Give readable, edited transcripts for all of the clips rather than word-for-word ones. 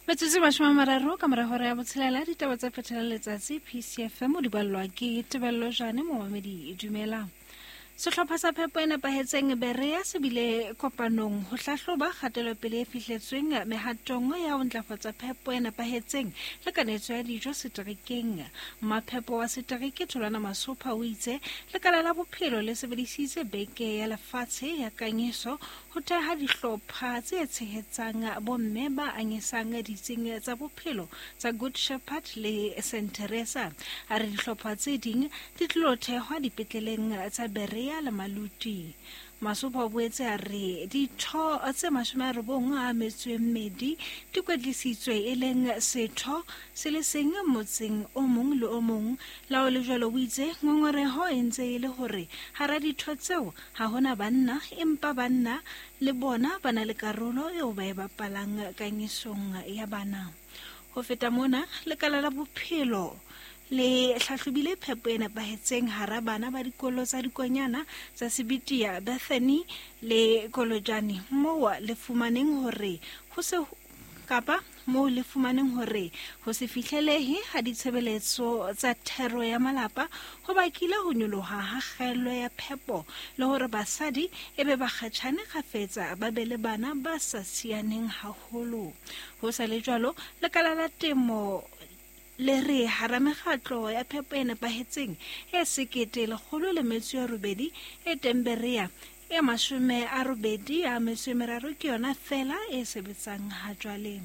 Metsotso e 30 ka mora hora ya botshelela, ditaba tsa phethela letsatsi PCFM o di ballwa ke Tebello Jane. Momamedi, dumela. Sehlopha sa phepo e nepahetseng Berea se bile kopanong ho hlahloba kgatelopele e fihletsweng mehatong ya ho ntlafatsa phepo e nepahetseng le kanetso ya dijo seterekeng. Maphepo wa setereke Tholwana Masopha o itse lekala la bophelo le sebedisitse beke ya lefatshe ya kanyeso ho theha dihlopha tse tshehetsang bomme ba anyesang ditsing tsa bophelo tsa Good Shepherd le St Teresa. A re dihlopha tse ding di tlilo thehwa dipetleleng tsa Berea le Maluti. Masopha o boetse a re ditho tse 92 di kwetlisitswe, e leng setho se le seng motseng o mong le o mong. Lao le jwalo, o itse ngongoreho e ntse e le hore hara ditho tseo ha hona banna, empa banna le bona ba na le karolo eo ba e bapalang kanyesong ya bana. Ho feta mona, lekala la bophelo le hlahlobile phepo e nepahetseng hara bana ba dikolo tsa dikonyana tsa Sebitia, Bethany le Kolojane, moo le fumaneng hore ho se kapa moo le fumaneng hore ho se fihlelehe ha ditshebeletso tsa thero ya malapa ho bakile ho nyoloha ha kgaello ya phepo le hore basadi e be bakgatjhane kgafetsa ba be le bana ba sa sianeng haholo. Ho sa le jwalo, lekala la temo le re hara mekgatlo ya phepo e nepahetseng e 1108 e teng Berea, e 83 ke yona fela e sebetsang ha jwale.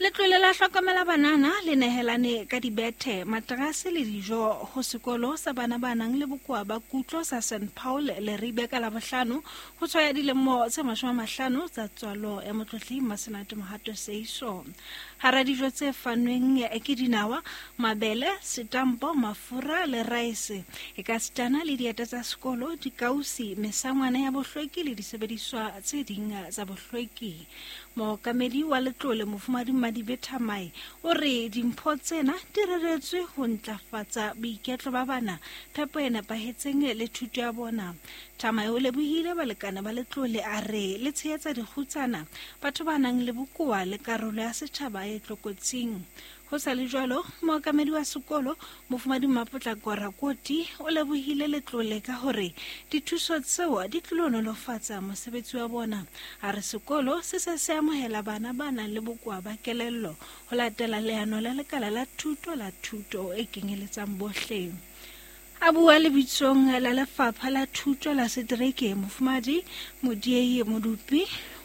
Letlole la hlokomela banana le nehelane ka dibethe, materase le dijo ho sekolo sa bana ba nang le bokowa ba kutlo sa St Paul Leribe ka Labohlano ho tshwaya dilemo tse 50 tsa tswalo ya Motlotli Masenate Mohato Seiso. Hara dijo tse fanweng ke dinawa, mabele, setampo, mafura le raese, e ka sitana le dieta tsa sekolo, dikausi, mesangwana ya bohlweki le disebediswa tse ding tsa bohlweki. Mookamedi wa letlole Mofumadi Madibe Thamae o re dimpho tsena di reretswe ho ntlafatsa boiketlo ba bana, phepo e nepahetseng le thuto ya bona. Thamae o lebohile balekane ba letlole, a re le tshehetsa dikgutsana, batho ba nang le bokowa le karolo ya setjhaba e tlokotsing. Ho sa le jwalo, mookamedi wa sekolo Mofumadi Mmapotlako Rakoti o lebohile letlole ka hore dithuso tseo di tlilo nolofatsa mosebetsi wa bona. A re sekolo se se se amohela bana ba nang le bokowa ba kelello ho latela leano la lekala la thuto la thuto e kenyeletsang bohle. A bua lebitsong la lefapha la thuto la setereke, Mofumadi Modiei Modupi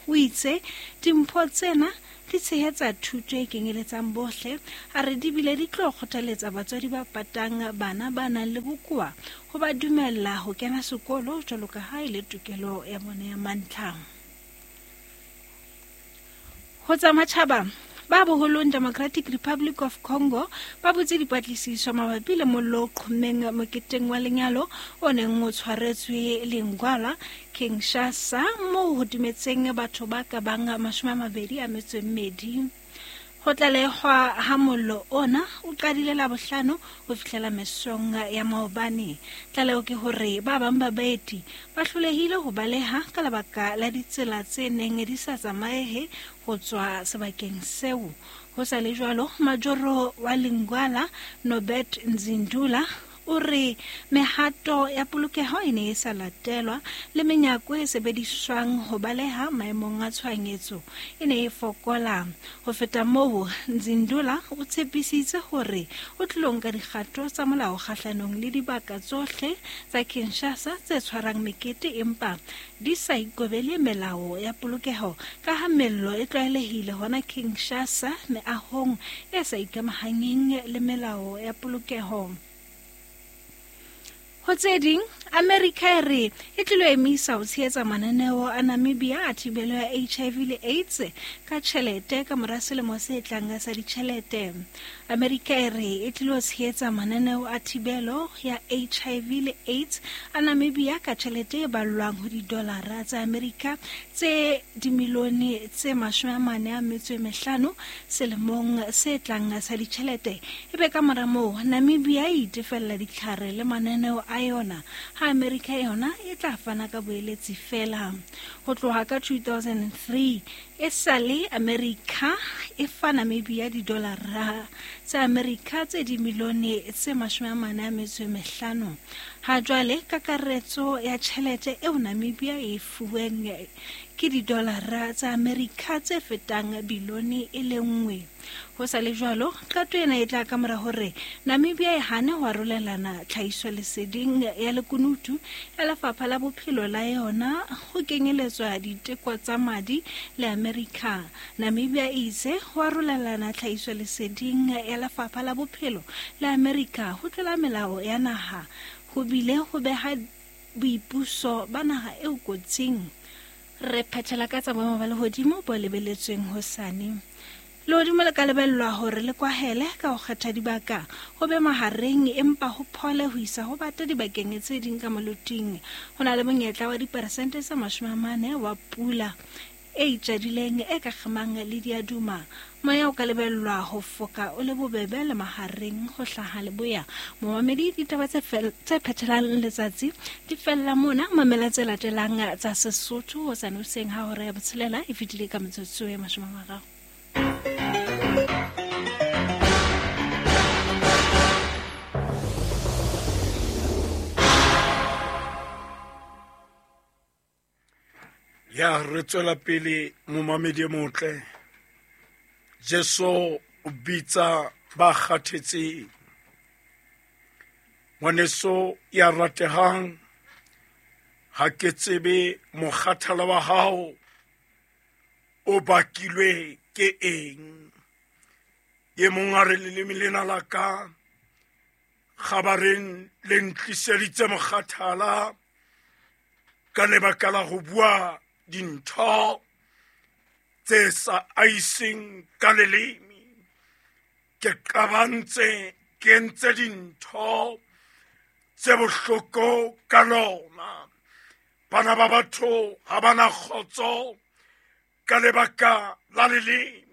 o itse dimpho tsena di tshehetsa thuto e kenyeletsang bohle. A re di bile di tlo kgothaletsa batswadi ba patang bana ba nang le bokowa ho ba dumella ho kena sekolo jwalo ka ha e le tokelo ya bona ya mantlha. Ho tsa matjhaba, ba boholong Democratic Republic of Congo ba butse dipatlisiso mabapi le mollo o qhommeng moketeng wa lenyalo o neng o tshwaretswe Lingwala, Kinshasa, moo ho timetseng batho ba ka bang 22. Ho tlalehwa ha mollo ona o qadile Labohlano ho fihlela mesong ya maobane. Tlaleho ke hore ba bang ba baeti ba hlolehile ho baleha ka lebaka la ditsela tse neng di sa tsamaehe ho tswa sebakeng seo. Ho sa le jwalo, majoro wa Lingwala, Nobert Nzindula, o re mehato ya polokeho e ne e sa latelwa le menyako e sebediswang ho baleha maemong a tshohanyetso e ne e fokola. Ho feta moo, Nzindula o tshepisitse hore o tlilo nka dikgato tsa molao kgahlanong le dibaka tsohle tsa Kinshasa tse tshwarang mekete empa di sa ikobele melao ya polokeho, ka ha mello e tlwaelehile hona Kinshasa meahong e sa ikamahanyeng le melao ya polokeho. Ho tse ding, Amerika e re e tlilo emisa ho tshehetsa mananeo a Namibia a thibelo ya HIV le AIDS ka tjhelete ka mora selemo se tlang sa ditjhelete. Amerika e re e tlilo tshehetsa mananeo a thibelo ya HIV le AIDS a Namibia ka tjhelete e ballwang ho didolara tsa Amerika tse dimilione tse 45 selemong se tlang sa ditjhelete. Ebe ka mora moo, Namibia e itefella ditlhare le mananeo a a yona, ha Amerika yona e tla fana ka boeletsi feela. Ho tloha ka 2003 e sale Amerika e fa Namibia didolara tsa Amerika tse dimilione tse 45. Ha jwale kakaretso ya tjhelete eo Namibia e fuweng ke didolara tsa Amerika tse fetang bilione e le nngwe. Ho sa le jwalo, qeto ena e tla ka mora hore Namibia e hane ho arolelana tlhahisoleseding ya lekunutu ya Lefapha la Bophelo la yona ho kenyeletswa diteko tsa madi le Amerika. Namibia e itse ho arolelana tlhahisoleseding ya Lefapha la Bophelo la Amerika ho tlola melao ya naha ho bile ho beha boipuso ba naha eo kotsing. Re phethela ka tsa boemo ba lehodimo bo lebeletsweng hosane. Lehodimo le ka lebellwa hore le kwahele ka ho kgetha dibaka, ho be mahareng empa ho phole ho isa ho bata dibakeng tse ding ka moloting. Ho na le monyetla wa diperesente tse 40 wa pula e itjadileng e ka kgemang le diaduma. Moya o ka lebellwa ho foka o le bobebe le mahareng ho hlaha leboya. Momamedi, ditaba tse phethelang letsatsi di fella mona. Mamela tse latelang tsa Sesotho hosane hoseng ha hora ya botshelela e fetile ka metsotso e 30. Ya re tswela pele, momamedi e motle. Jesu o bitsa ba kgathetseng. Ngwaneso ya ratehang, ha ke tsebe mokgathala wa hao o bakilwe ke eng. E mong a re leleme lena la ka kgabareng le ntliseditse mokgathala ka lebaka la ho bua dintho tse sa aiseng ka leleme. Ke qabantse, ke entse dintho tse bohloko ka lona. Bana ba batho ha bana kgotso ka lebaka la leleme.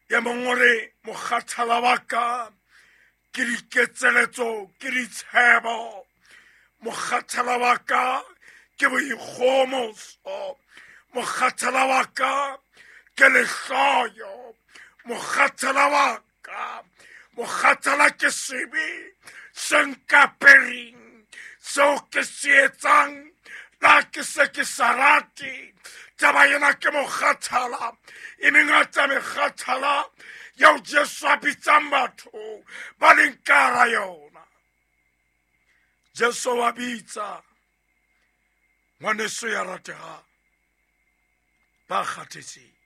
E mong o re mokgathala wa ka ke diketseletso, ke ditshebo. Mokgathala wa ka ke boikgomoso. Mokgathala wa ka ke lehloyo. Mokgathala wa ka, mokgathala ke sebe se nkapereng, seo ke se etsang la ke se ke sa rate. Taba ena ke mokgathala. E mengata mekgathala eo Jesu a bitsang batho ba leng ka hara yona. Jesu wa bitsa, ngwaneso ya ratehang, ba kgathetseng.